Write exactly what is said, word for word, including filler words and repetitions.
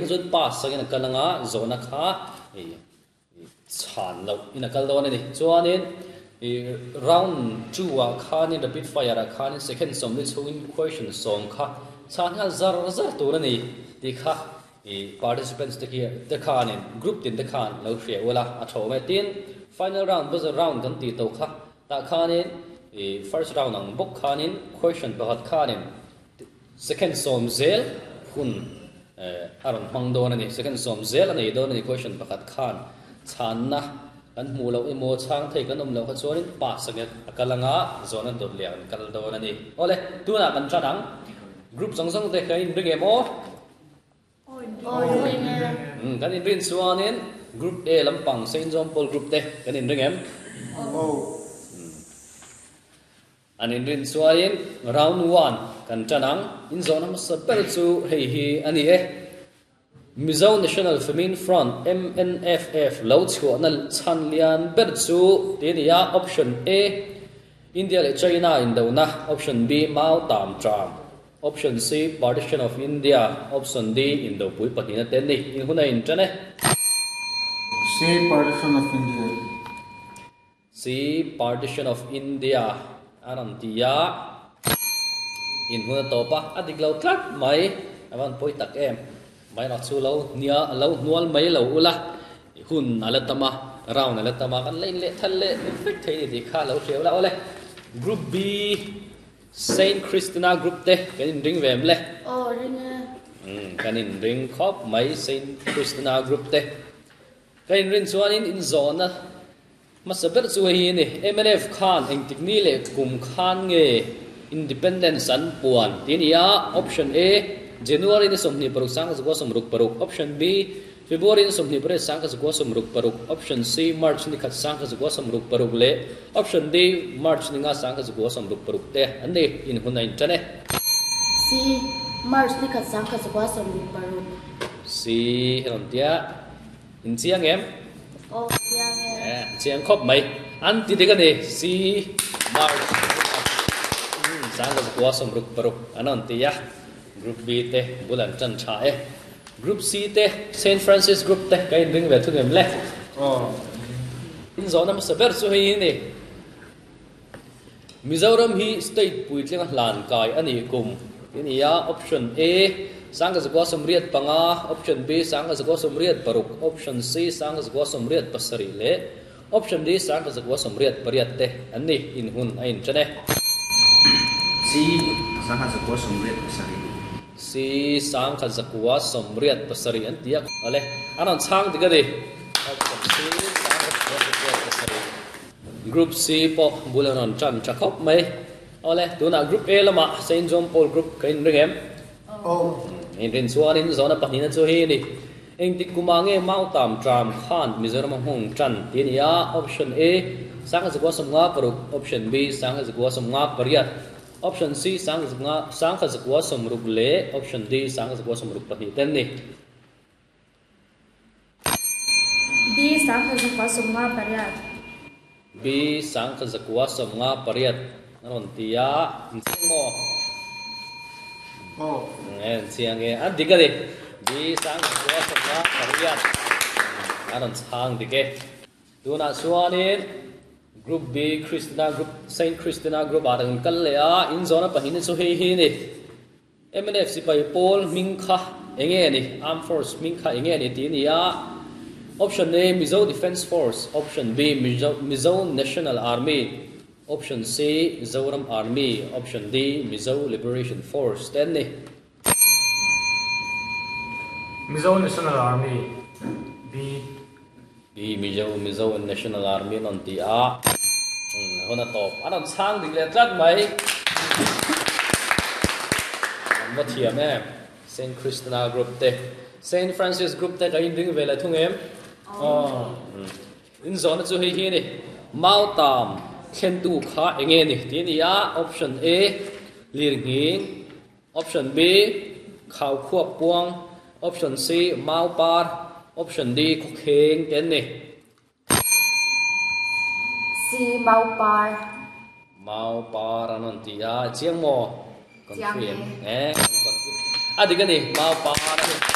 chuan pass angin a kal anga zawhna kha chhan loh in a kal dawn a ni. Chuanin round two ah khanin rapid fire ah khanin second sawmli chhungin question sawm kha chhan nghal zar zar tur a ni tih kha participants te khi te khanin group tin te khan lo hria ula a tho mai. Tin final round buzzer round kan tih tawh kha tah khanin first round ang bawk khanin question pakhat khanin second sawm zel hun a rawn hmang dawn a ni. Second sawm zel a nei dawn a ni question pakhat khan chhanna kan hmuh loh emaw chhang thei kan awm loh kha chuanin pass angin a kal anga zawhna dawt leh an kal dawn a ni. Awle tunah kan tan ang group zawng zawng te kan inring em aw? Kan inrin chuanin group A lampang Saint John Paul group te kan inring em? An inrin chuanin round one kan tan ang in zawhna hmasa ber chu hei hi a ni e. Mizo National Famine Front M N F F lo chhuahna chhan lian ber chu ti a ni a. Option A India leh China indona, option B Mau Tam Tram, option C Partition of India, option D Indopui pahnihna te an ni. In hun a intan e. C Partition of India. C Partition of India a rawn ti a. In hun a tawp a, a dik lo tlat mai a van pawi tak em. Mai rak chu lo nia lo hnual mai lo ula hun a la tam a, round a la tam a, kan la in leh thal leh vek thei ni tih kha lo hria ula. Awle group B Saint Christina group te kan inring ve em le? Aw ring e. Kan inring khawp mai Saint Christina group te. Kan inrin chuanin in zawhna hmasa ber chu hei hi a ni. M N F khan engtik ni leh kum khan nge Independence an puan tih a ni a. Option A January ni sawmhnih paruk sangkhat zakua sawmruk paruk, option B February ni sawmhnih pariat sangkhat zakua sawmruk paruk, option C March ni khat sangkhat zakua sawmruk paruk leh option D March ni nga sangkhat zakua sawmruk paruk te an ni. In hun a intan e. C March ni khat sangkhat zakua sawmruk paruk. C rawn tia in chiang em? Aw chiang e. Eh chiang khawp mai. An ti dik a ni. C March ni khat sangkhat zakua sawmruk paruk an rawn ti a. Group B te bul an tan tha e. Group C te Saint Francis group te ka inring ve thung em le? Aw. In zawhna hmasa ber chu hei hi a ni. Mizoram hi state puitlinga hlan kai a ni kum tih a ni a. Option A sangkhat zakua sawmriat panga, option B sangkhat zakua sawmriat paruk, option C sangkhat zakua sawmriat pasarih leh option D sangkhat zakua sawmriat pariat te an ni. In hun a intan e. C sangkhat zakua sawmriat pasarih. C sangkhat zakua sawmriat pasarih an ti a. Awle an rawn chhang dik a ni. Option C sangkhat zakua sawmriat pasarih. Group C pawh bul an rawn tan tha khawp mai. Awle tunah Group A lamah Saint John Paul group ka inring em? Aw. Inrin chuanin zawhna pahnihna chu hei a ni. Engtik kumah nge Mau Tam Tram khan Mizoram a hmung tan tih a ni a. Option A sangkhat zakua sawmnga paruk, option B sangkhat zakua sawmnga pariat, option C sangkhat zakua sawmruk leh option D sangkhat zakua sawmruk pahnih te an ni. B sangkhat zakua sawmnga pariat. B sangkhat zakua sawmnga pariat a rawn ti a. In chiang maw? Aw. En chiang e. An dik a ni. B sangkhat zakua sawmnga pariat a rawn chhang dik e. Tunah chuanin Group B Christina group Saint Christina group ah kan kal leh a. In zawhna pahnih chu hei hi a ni. M N F sipai pawl hming kha enge a ni? Armed Force hming kha enge a ni tih a ni a. Option A Mizo Defence Force, option B Mizo Mizo National Army, option C Zoram Army, option D Mizo Liberation Force te an ni. Mizo National Army B. B Mizo Mizo National Army an rawn ti a. Hun a tawp an rawn chhang dik leh tlat mai. An va thiam em Saint Christina group te Saint Francis group te ka inring ve leh thung em? Aw. In zawhna chu hei hi a ni. Mau Tam thlentu kha enge a ni tih a ni a. Option A Lirnghing, option B Khau Khuap Puang, option C Mau Par, option D Khawkheng te an ni. C Mau Par. Mau Par an rawn ti a. Chiang maw? Chiang e. Eh, a dik a ni. Mau Par a ni.